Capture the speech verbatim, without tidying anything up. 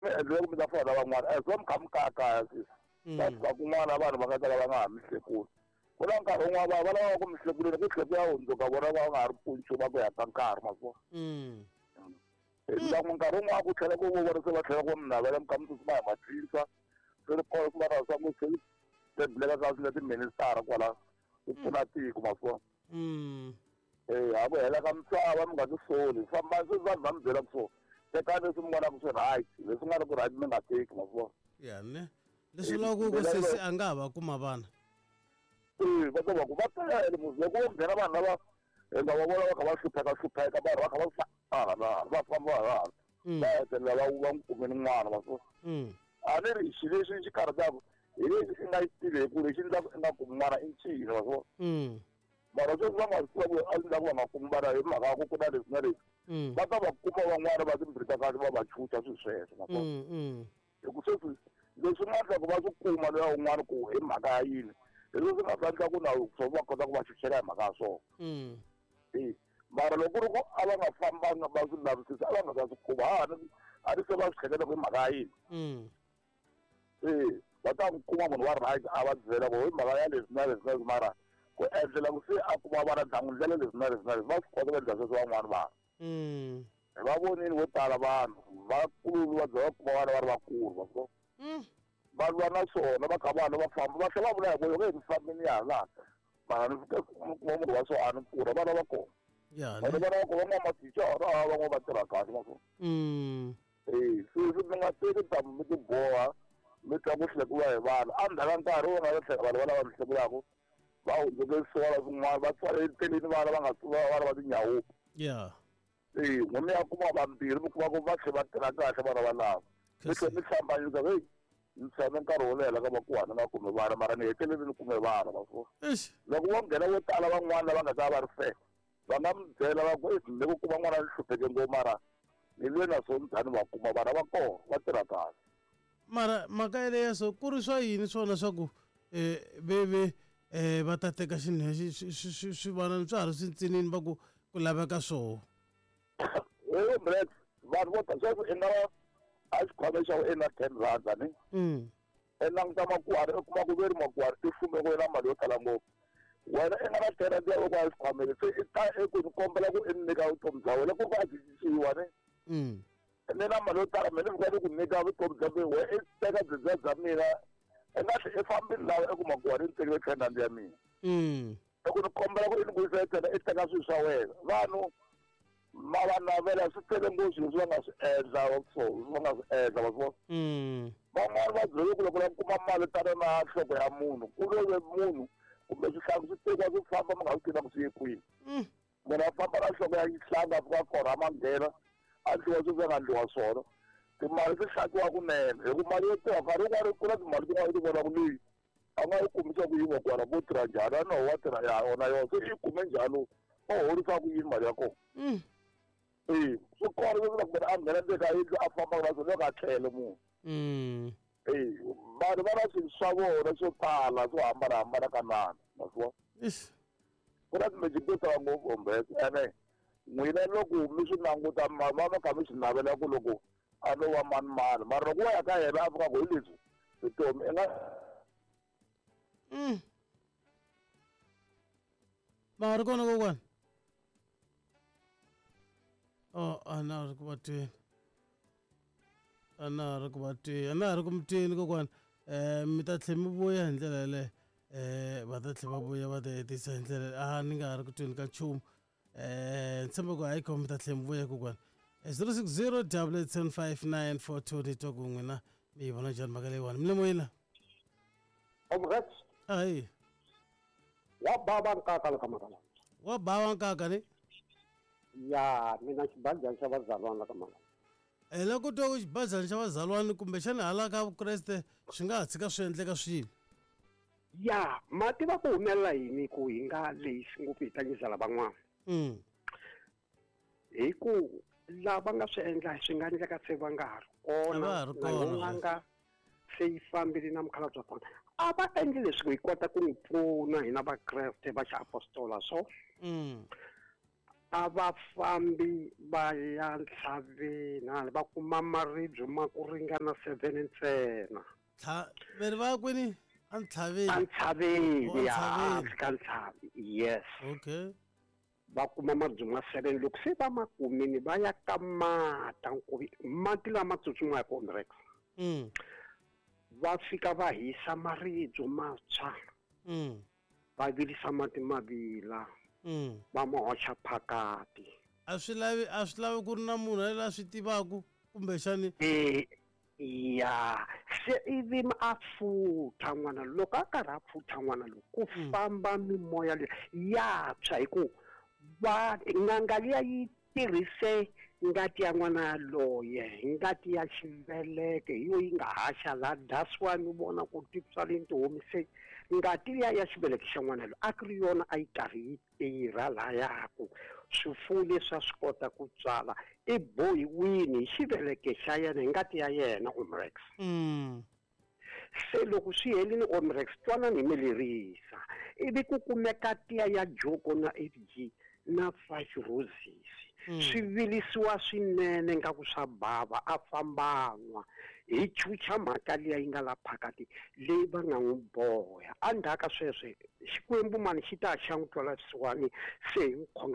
Mi endlela ku mi ta fana na van'wana as va mi kha mi kayakaya sweswi va fika kun'wana vanhu va nga ta ka va nga ha mi hlekuli ku na nkarhi wun'wana va va lava ku mi hlekuleni ku tlhela ku ya hundzuka vona va nga ha ri pfuni nchumu va ku ya ka nkarhi ma swi vona hi nkarhi wun'wana ku tlhela ku vona se va tlhela ku mi navela mi kha mi tsutsuma hi matlisa swi ri kona ku va na swa ku se tebuleka ka swilo tiministara kwala ku pfuna tiko ma swi vona eh ha ku hela ka misava mi nga ti soli famba sweswi vanhu va mi byela ku so tekani leswi mi vonaka swi right leswi nga ri ku right mi nga teki ma swi vona ya ne leswi vulaka ku sesi a nga ha va kuma vana eh va ta va ku va tele muzi loko wo nghena vanhu lava hi nga va vona va kha va hlupheka hlupheka vanhu va kha va hala va famba hala va hetelela va va n'wi kumeni n'wana ma swi vona a ni ri xilo lexi xi karhataka hi lexi i nga xi tiveki lexi endlaka i nga kumi n'wana i ncini ma swi vona mara sweswi va nga swi tiva ku a endlaku va nga kumi vana hi mhaka ya ku ku na leswi na leswi va ta va kuma van'wana va timbirhi ta kahle va va chucha swilo sweswo ma swi vona hi ku sweswi leswi nga endla ku va swi kuma loya un'wana ku hi mhaka ya yini hi leswi nga ta endla ku na swo va kota ku va chuchela hi mhaka ya swona e mara loko ku ri ku a va nga fambanga va swi lavisisa a va nga ta swi kuma a a ni se va swi hleketa ku hi mhaka ya yini e va ta n'wi kuma munhu wa right a va byela ku hi mhaka ya leswi na leswi na leswi mara ku endlela ku se a kuma vana ndla n'wi ndlela leswi na leswi na leswi va swi kota ku endla sweswo van'wana vanhu hi va vonile vo tala vanhu vakulu va za va kuma vana va ri vakulu va swi va lwa na swona va kha vana va famba va tlhela va vula hi ku loko hi ni fambini ya hala mara ni fike kuma munhu wa so a ni pfuna vana va kona vana vana va kona van'wana mathicara van'wana va tirha kahle ma swona e sweswi mi nga teki ntamu mi ti boha mi twa ku hlekuriwa hi vanhu endzhaku ka nkarhi wo nga tlhela vanhu va lava mi hlekulaka va hundzuke swona swin'wana va tswale eteleni vana va nga vana va tinyawupi ya e n'we mi ya kuma vambirhi mi kuma ku va tlhe va tirha kahle vana valava mi tlhe mi hlambanyisa heyi ni tshame nkarhi wo leha ka vakuhani nga kumi vana mara ni hetelele ni kume vana ma swi vona loko vo nghena vo tala van'wana lava nga ta va ri fair va nga mi byela va ku ni ku kuma n'wana ni hlupheke ngopfu mara ni lwe na swo njhani va kuma vana va kona va tirha kahle mara mhaka yeleyo so ku ri swa yini swona swa ku um veve um va ta teka swivanani swa ha ri swintsinini va ku ku laveka swoho vanhu vo ta sweswi i nga va a xikhwameni xa i na ten rand ni i languta makuhari i kuma ku ve ri makuhari i fume ku na mali yo tala ngopfu wena i nga na ten rand ya ku a xikhwameni se i ta eku ni kombela ku i ni nyika vutomi bya wena ku va byi cinciwa ni ni na mali yo tala mina ni fika ni ku nyika vutomi bya mina wena i teka byibya bya mina i nga tlhe i fambile laha i kuma kuhari ni tekile ten rand ya mina i ku ni kombela ku i ni vuyisela ten i teka swilo swa wena vanhu ma va navela swi tele ngopfu leswi va nga swi endla so va nga swi endla va swi vona van'wani va byele ku loko va kuma mali tana na nhloko ya munhu ku love munhu kumbe swihlangu swi tekiwa swi famba mi nga swi tiva ku swi ye kwini munhu a famba na nhloko ya xihlangu a fika korha ma nghena a ndliwa sweswi a nga ndliwa swona timali ti hlakiwa kunene hi ku mali yo tirha nkarhi wun'wani ku na timali tin'wana ti vonaka leyi a nga yi kumisa ku yini kwala vo tirha njhani a no wa tirha ya yona yona se i kume njhani o horisa ku yini mali ya kona e swi kona leswi loko munhu a nghena ndzeni ka yindlu a fambaka na swona loko a tlhele munhu e vanhu va na swilo swa vona swo tala swo hambanahambana ka nana ma swi vona ku na timeji to tala ngopfu ombese ene n'wina loko mi swi languta ma va ma kha mi swi navela ku loko a no va mani mani mara loko wo ya ka yena a fika ku hi leswi vutomi i nga ma ri kona kokwana oh a na ri ku va tweni a na ri ku va tweni a na ri ku mi tweni kokwana um mi ta tlhe mi vuya hi ndlela yeleyo um va ta tlhe va vuya va ta hetisa hi ndlela a ni nga ha ri ku tweni ka nchumu um ni tshemba ku hayi kho mi ta tlhe mi vuya kokwana zero six zero double eight seven five nine four two ni twa ku n'wina mi yi vona njhani mhaka leyiwani mi le moyeni la ayi wa bava nkaka la ka mhaka lawa wa bava nkaka ni ya mina xibazana xa vazalwana la ka mhaka hi loko ku twa ku xibazana xa vazalwana kumbexana hala ka vukreste swi nga ha tshika swi endleka swilo ya ma tiva ku humelela yini ku hi nga lehisi ngopfu hi tlangisa lavan'wana hi ku lava nga swi endla swi nga endleka se va nga ha ri kona na yo n'anga se yi fambile na mukhalabye wa kona a va endli leswi ku hi kota ku n'wi pfuna hina vakreste va xiapostola so A va fambi va ya ntlhaveni va kuma maribye ma ku ringana seven ntsena. Tlha veri va ya kwini? A ntlhaveni. A ntlhaveni ya ka ntlhavi. Yes. Okay. Va kuma maribye ma seven loko se va ma kumini va ya ka mata nkuvi mati lama tsutsumaka Omrex. Mm. Va fika va hisa maribye matshwa. Mm. Va vilisa mati ma vila. Mm. Va ma hoxa phakati. A swi lavi a swi lavi ku ri na munhu la swi tivaku kumbexani eh ya se ivi a futha n'wana loko a karhi a futha n'wana loko ku famba mimoya leyi ya tshwa hi ku va n'anga liya yi tirhise ngati ya n'wana yaloye ngati ya xiveleke hi yo yi nga haxa la that's why mi vona ku titswaleni ti homise ngati liya ya xiveleke xa n'wana loyi a ku ri yona a yi karhi yi tirha layaku swifuwo leswi a swi kota ku tswala i bohiwini hi xiveleke xa yena hi ngati ya yena Omrex. Mm. Se loko swi helini Omrex twanani hi mi lerisa ivi ku kumeka tiya ya joko na F G na five roses. Mm. Swi vilisiwa swinene nga ku swa bava a fambanwa hi chucha mhaka liya yi nga la phakati leyi va nga n'wi boha endzhaku ka sweswo Xikwembu mani xi ta xa n'wi twela vusiwana se hi n'wi khongela.